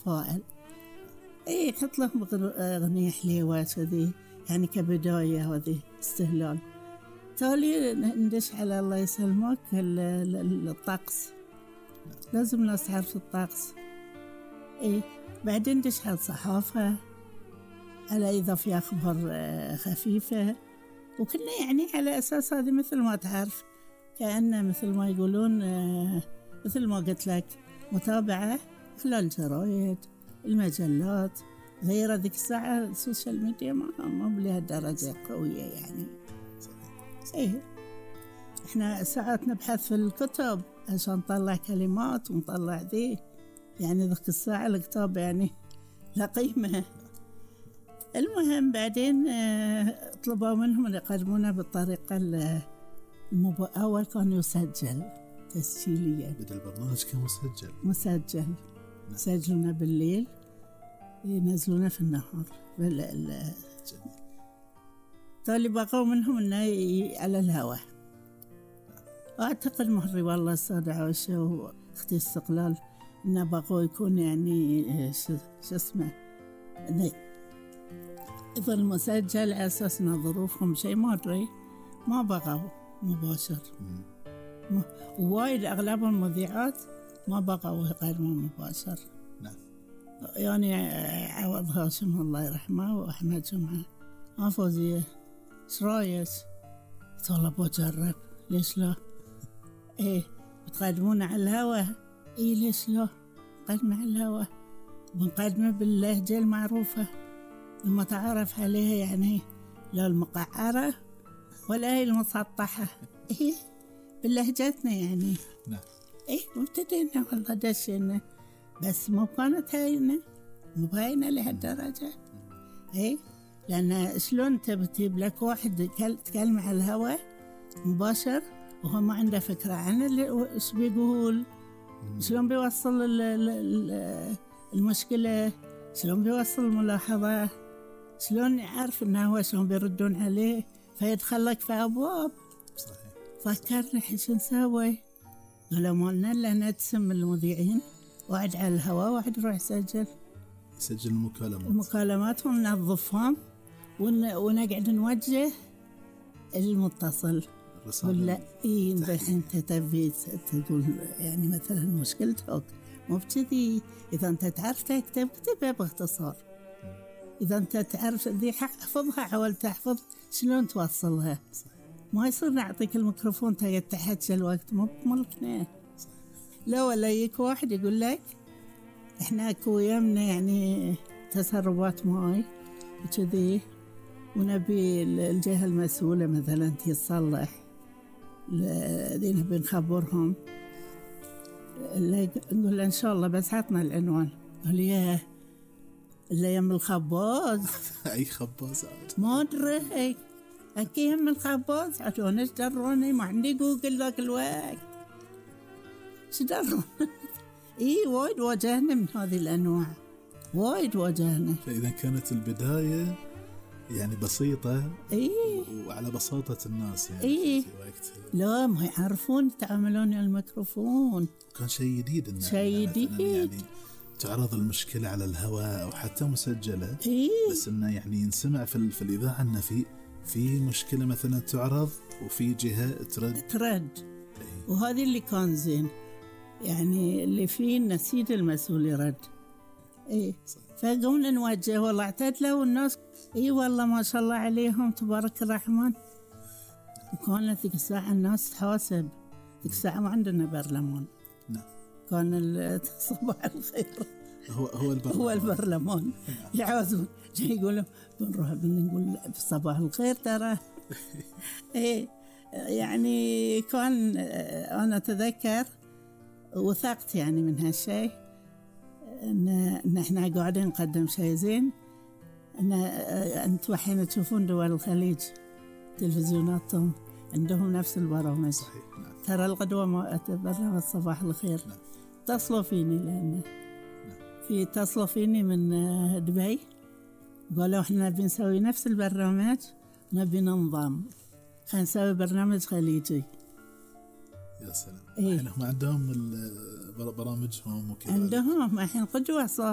أتفائل. إيه حط لهم أغنية حليوة كذي يعني كبداية، وذي استهلال. تالي ندش على الله يسلمك الطقس، لازم الناس تعرف الطقس. إيه بعدين ندش على الصحافة، على إذا في أخبار خفيفة، وكنا يعني على أساس هذه مثل ما تعرف كأنه مثل ما يقولون مثل ما قلت لك متابعة خلال الجرايد المجلات غير ذيك الساعة. السوشيال ميديا ما بلهالدرجة قوية يعني. إيه إحنا ساعات نبحث في الكتب عشان نطلع كلمات ونطلع ذي، يعني ذيك الساعة الكتاب يعني لا قيمة. المهم بعدين طلبوا منهم أن يقدمونا بالطريقة أول كان يسجل تسجيليا، بدأ البرنامج كان مسجل يسجلونا بالليل ينزلونا في النهار. تالي بقوا منهم أنه على الهواء. أعتقد مهري والله السادة عائشة وأختي استقلال أنه بقوا يكون يعني شو اسمه إذا المسجل على أساس أن ظروفهم شيء ما أدري، ما بقوا مباشر. وايد أغلب المذيعات ما بقوا يقدمون مباشر. نعم. يعني عوض هاشم الله يرحمه وأحمد جمعة فوزية إيش رايك؟ والله بجرب، ليش لا؟ إيه بتقدمون على الهوا؟ إيه ليش لا؟ قدمنا على الهوا، بنقدمه باللهجة المعروفة لما تعرف عليها، يعني لا المقعرة ولا هي المسطحة. إيه بلهجتنا يعني. نعم. إيه وابتدينا والله دشينا، بس مو كانت هاينة مو باينة لهالدرجة. إيه لأن شلون تجيب لك واحد تكلم على الهواء مباشر وهو ما عنده فكرة عن إيش بيقول، شلون بيوصل المشكلة، شلون بيوصل الملاحظة، شلون يعرف إنه هو شلون بيردون عليه، فيدخلك في أبواب. صحيح. فكرنا حيش نسوي، قالوا ما لنا إلا نتسم المذيعين، واحد على الهواء واحد يروح يسجل المكالمات وننظفهم ونقعد نوجه المتصل ولا إيه أنت تبي تقول يعني مثلا مشكلتك مو بكذي. إذا أنت تعرف تكتب اكتبها باختصار، إذا أنت تعرف ذي حفظها حاول تحفظ شلون توصلها. ما يصير نعطيك الميكروفون تقعد تحكي الوقت مو بملكنا. لا ولا يك واحد يقول لك إحنا أكو يمنا يعني تسربات ماي وكذي ونبي الجهة المسؤولة مثلا تصلح الذين نبي نخبرهم، نقول إن شاء الله بس عطنا العنوان. قال ياه اللي يم الخباز. أي خباز ما أدري أكي يم الخباز عشان إيش دروني، ما عندي جوجل ذاك الوقت إيش درون. إيه وايد واجهنا من هذه الأنواع، وايد واجهنا. فإذا كانت البداية يعني بسيطة إيه وعلى بساطة الناس يعني إيه في وقت لا ما يعرفون يتعاملون الميكروفون، كان شيء جديد شيء جديد يعني تعرض المشكلة على الهواء أو حتى مسجلة. إيه بس إنه يعني ينسمع في الإذاعة إنه في مشكلة مثلا تعرض وفي جهة ترد. إيه. وهذه اللي كان زين يعني اللي فيه نسيد المسؤول يرد. إيه فقمنا نوجه والله اعتدلوا والناس إيه والله ما شاء الله عليهم تبارك الرحمن. وكانت ذيك الساعة الناس تحاسب، ذيك الساعة ما عندنا برلمان. نعم. كان صباح الخير هو البرلمان يعازون يقولوا بنروح بنقول صباح الخير ترى. إيه يعني كان أنا أتذكر وثقت يعني من هالشيء إن إحنا قاعدين نقدم شيء زين. أنتوا حين تشوفون دول الخليج تلفزيوناتهم عندهم نفس البرامج. صحيح. نعم. ترى القدوة ما برنامج صباح الخير. نعم. اتصلوا فيني لأنه في اتصلوا فيني من دبي قالوا إحنا نبي نسوي نفس البرنامج، نبي ننظم خلينا نسوي برنامج خليجي. يا سلام. إيه؟ هم عندهم برامجهم وكذا، عندهم الحين قدوة صار.